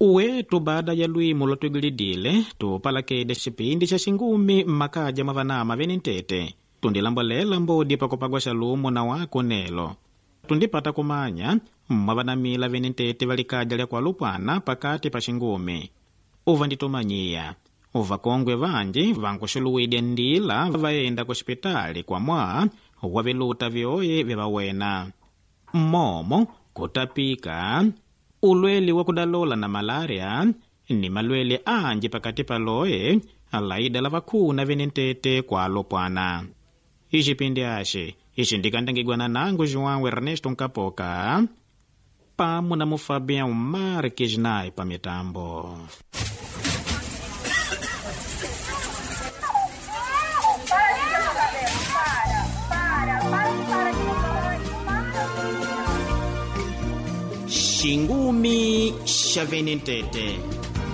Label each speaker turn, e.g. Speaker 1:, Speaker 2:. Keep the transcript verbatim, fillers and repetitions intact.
Speaker 1: Uwetu baada ya lwimu lwatwigilidile tupalakede xipindi xa xingumi mmakaja mwa vanama vene ntete tundilambolela mbodi pakupagwa xalumo na wako nelo tundipata kumanya mwa vanamila vene ntete valikaja lya kualupwana pakati pa xingumi uva nditumanyiya uvakongwe vanji vankuxuluwidya ndila vaenda kuxipitali kwa mwaa wa viluta vyoye vyavawena mmomo kutapika ulwele wa kudalola na malaria ni malwele anji pakati paloye alaida la vakhuna vene ntete kwa alopwana ixipindi axi ixindikandangigwana nangu João Ernesto Nkapoka pamo na Mufabian Marques naye pa mitambo. Xingumi xa vene ntete.